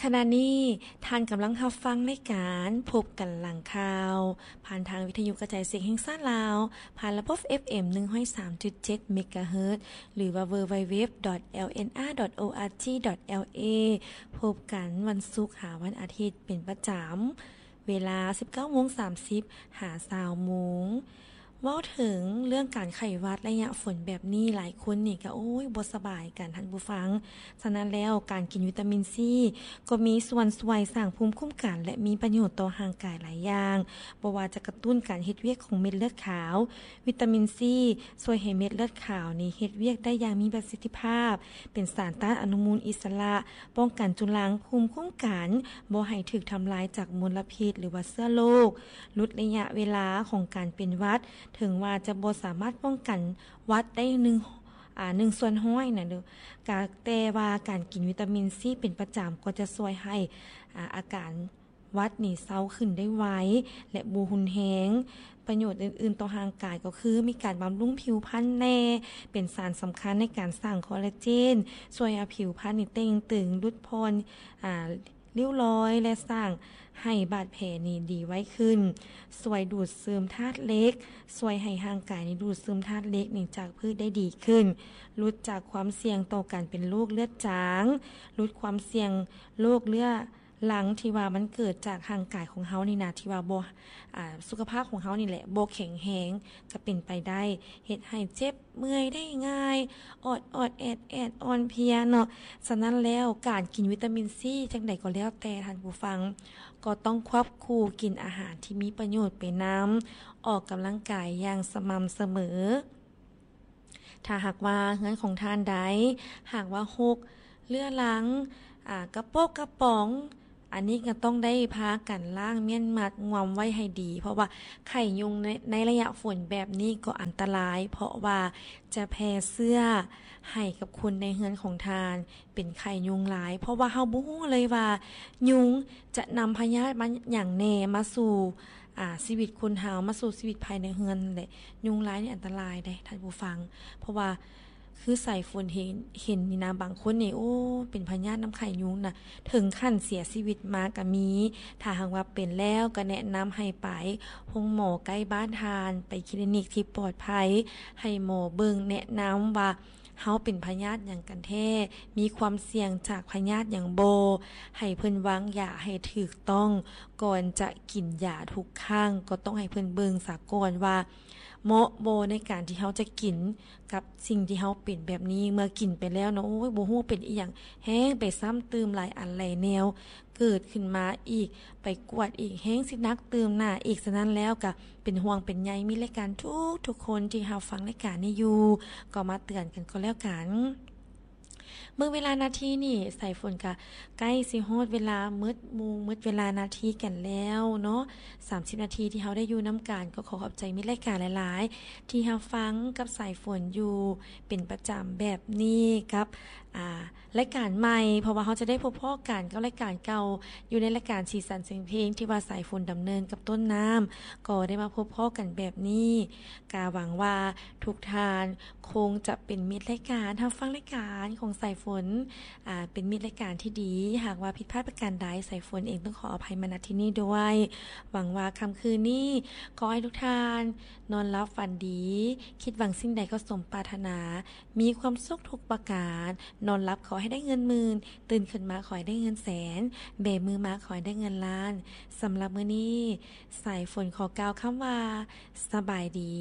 ຂະນະນີ້ທ່ານກຳລັງຮັບຟັງລາຍການພົບກັນຫຼັງຂ່າວ ຜ່ານທາງວິທະຍຸກະຈາຍສຽງແຫ່ງຊາດລາວ ຜ່ານລະບົບ ເອັຟເອັມ ໜຶ່ງຮ້ອຍສາມຈຸດເຈັດ ເມກາເຮີດ ຫຼືວ່າ ดัບເບິນຢູດັບເບິນຢູດັບເບິນຢູ ດອດ ແອລເອັນອາ ດອດ ໂອອາຈີ ດອດ ແອລເອ ພົບກັນວັນສຸກຫາວັນອາທິດເປັນປະຈຳ ເວລາ ສິບເກົ້າໂມງສາມສິບ ຫາ ຊາວໂມງ. ເວົ້າເຖິງເລື່ອງການໄຂ້ຫວັດໄລຍະຝົນແບບນີ້ ຫຼາຍຄົນນີ້ກໍ ໂອ້ຍ ບໍ່ສະບາຍກັນທ່ານຜູ້ຟັງ. ສະນັ້ນແລ້ວ ການກິນວິຕາມິນຊີກໍມີສ່ວນຊ່ວຍສ້າງພູມຄຸ້ມກັນ ແລະ ມີປະໂຫຍດຕໍ່ຮ່າງກາຍຫຼາຍຢ່າງ, ບໍ່ວ່າຈະກະຕຸ້ນການເຮັດວຽກຂອງເມັດເລືອດຂາວ. ວິຕາມິນຊີຊ່ວຍໃຫ້ເມັດເລືອດຂາວນີ້ເຮັດວຽກໄດ້ຢ່າງມີປະສິດທິພາບ, ເປັນສານຕ້ານອະນຸມູນອິດສະຫຼະ, ປ້ອງກັນຈຸລັງພູມຄຸ້ມກັນບໍ່ໃຫ້ຖືກທຳລາຍຈາກມົນລະພິດ ຫຼືວ່າເຊື້ອໂລກ, ຫຼຸດໄລຍະເວລາຂອງການເປັນຫວັດ, ເຖິງວ່າຈະບໍ່ສາມາດປ້ອງກັນຫວັດໄດ້ໜຶ່ງ ອາ ໜຶ່ງສ່ວນຮ້ອຍນະ ກະ ແຕ່ວ່າການກິນວິຕາມິນຊີເປັນປະຈຳກໍຈະຊ່ວຍໃຫ້ ອາ ອາການຫວັດນີ້ເຊົາຂຶ້ນໄດ້ໄວ ແລະ ບໍ່ຮຸນແຮງ. ປະໂຫຍດອື່ນໆຕໍ່ຮ່າງກາຍກໍຄື ມີການບຳລຸງຜິວພັນແດ່, ເປັນສານສຳຄັນໃນການສ້າງຄໍລາເຈນ, ຊ່ວຍໃຫ້ຜິວພັນນີ້ເຕ່ງຕຶງ, ຫຼຸດຜ່ອນ ອາ ລິ້ວລອຍ ແລະ ສ້າງໃຫ້ບາດແຜນີ້ດີໄວຂຶ້ນ, ຊ່ວຍດູດຊຶມທາດເຫຼັກ, ຊ່ວຍໃຫ້ຮ່າງກາຍນີ້ດູດຊຶມທາດເຫຼັກນີ້ຈາກພືດໄດ້ດີຂຶ້ນ, ຫຼຸດຈາກຄວາມສ່ຽງຕໍ່ການເປັນໂລກເລືອດຈາງ, ຫຼຸດຄວາມສ່ຽງໂລກເລືອດຫຼັງທີ່ວ່າມັນເກີດຈາກຮ່າງກາຍຂອງເຮົານີ້ນະ ທີ່ວ່າບໍ່ ອາ ສຸຂະພາບຂອງເຮົານີ້ແຫຼະບໍ່ແຂງແຮງ ຈະເປັນໄປໄດ້ ເຮັດໃຫ້ເຈັບ ເມື່ອຍໄດ້ງ່າຍ, ອອດໆແອດໆ ອ່ອນເພຍເນາະ. ສະນັ້ນແລ້ວ ການກິນວິຕາມິນຊີຈັ່ງໃດກໍແລ້ວແຕ່ທ່ານຜູ້ຟັງ ກໍຕ້ອງຄວບຄູ່ກິນອາຫານທີ່ມີປະໂຫຍດໄປນຳ, ອອກກຳລັງກາຍຢ່າງສະໝ່ຳສະເໝີ. ຖ້າຫາກວ່າເຮືອນຂອງທ່ານໃດ ຫາກວ່າຮົກເລືອລັງ, ອາ ກະປົກກະປ໋ອງ, ອັນນີ້ກໍຕ້ອງໄດ້ພາກັນລ້າງມ້ຽນມັດງວມໄວ້ໃຫ້ດີ ເພາະວ່າໄຂ້ຍຸງໃນ ໃນໄລຍະຝົນແບບນີ້ກໍອັນຕະລາຍ ເພາະວ່າຈະແຜ່ເຊື້ອໃຫ້ກັບຄົນໃນເຮືອນຂອງທ່ານເປັນໄຂ້ຍຸງຫຼາຍ ເພາະວ່າເຮົາບໍ່ຮູ້ເລີຍວ່າຍຸງຈະນຳພະຍາດມາຫຍັງແດ່ມາສູ່ ອາ ຊີວິດຄົນເຮົາ ມາສູ່ຊີວິດພາຍໃນເຮືອນແຫຼະ. ຍຸງລາຍນີ້ອັນຕະລາຍເດ້ທ່ານຜູ້ຟັງ ເພາະວ່າ ຄືສາຍຝົນເຫັນ ເຫັນນີ້ນະ ບາງຄົນນີ້ ໂອ້ ເປັນພະຍາດນຳໄຂ້ຍຸງນະ ເຖິງຂັ້ນເສຍຊີວິດມາກໍມີ. ຖ້າຫາກວ່າເປັນແລ້ວ ກໍແນະນຳໃຫ້ໄປໂຮງໝໍໃກ້ບ້ານທ່ານ, ໄປຄລີນິກທີ່ປອດໄພ, ໃຫ້ໝໍເບິ່ງ ແນະນຳວ່າເຮົາເປັນພະຍາດຫຍັງກັນແທ້, ມີຄວາມສ່ຽງຈາກພະຍາດຫຍັງບໍ່, ໃຫ້ເພິ່ນວາງຢາໃຫ້ຖືກຕ້ອງ. ກ່ອນຈະກິນຢາທຸກຄັ້ງ ກໍຕ້ອງໃຫ້ເພິ່ນເບິ່ງສາກ່ອນວ່າ ເໝາະບໍ່ໃນການທີ່ເຮົາຈະກິນກັບສິ່ງທີ່ເຮົາເປັນແບບນີ້. ເມື່ອກິນໄປແລ້ວເນາະ ໂອ້ຍ ບໍ່ຮູ້ເປັນອີ່ຫຍັງ ແຮ່ງໄປຊ້ຳຕື່ມຫຼາຍອັນຫຼາຍແນວເກີດຂຶ້ນມາອີກ, ໄປກວດອີກ ແຮ່ງຊິໜັກຕື່ມໜ້າອີກ. ສະນັ້ນແລ້ວກະເປັນຫ່ວງເປັນໃຍມິດລາຍການທຸກໆຄົນທີ່ຮັບຟັງລາຍການນີ້ຢູ່ ກໍມາເຕືອນກັນກໍແລ້ວກັນ. ເບິ່ງເວລານາທີນີ້ ສາຍຝົນກະໃກ້ຊິຮອດເວລາໝົດໂມງ ໝົດເວລານາທີກັນແລ້ວເນາະ, ສາມສິບນາທີທີ່ເຮົາໄດ້ຢູ່ນຳກັນ. ກໍຂໍຂອບໃຈມິດລາຍການຫຼາຍໆ ທີ່ຮັບຟັງກັບສາຍຝົນຢູ່ເປັນປະຈຳແບບນີ້ ກັບ ອາ ລາຍການໃໝ່ ເພາະວ່າເຮົາຈະໄດ້ພົບພໍ້ກັນກັບລາຍການເກົ່າ ຢູ່ໃນລາຍການສີສັນສຽງເພງ ທີ່ວ່າສາຍຝົນດຳເນີນກັບຕົ້ນນ້ຳ ກໍໄດ້ມາພົບພໍ້ກັນແບບນີ້. ກະຫວັງວ່າທຸກທ່ານ ຄົງຈະເປັນມິດລາຍການ ຮັບຟັງລາຍການຂອງສາຍຝົນ ອາ ເປັນມິດລາຍການທີ່ດີ. ຫາກວ່າຜິດພາດປະການໃດ ສາຍຝົນເອງຕ້ອງຂໍອະໄພມາ ນະ ທີ່ນີ້ດ້ວຍ. ຫວັງວ່າຄ່ຳຄືນນີ້ ຂໍໃຫ້ທຸກທ່ານນອນຫຼັບຝັນດີ, ຄິດຫວັງສິ່ງໃດກໍສົມປາດຖະໜາ, ມີຄວາມສຸກທຸກປະການ, ນອນຫຼັບຂໍໃຫ້ໄດ້ເງິນໝື່ນ, ຕື່ນຂຶ້ນມາຂໍໃຫ້ໄດ້ເງິນແສນ, ແບມືມາຂໍໃຫ້ໄດ້ເງິນລ້ານ. ສຳລັບມື້ນີ້ ສາຍຝົນຂໍກ່າວຄຳວ່າ ສະບາຍດີ.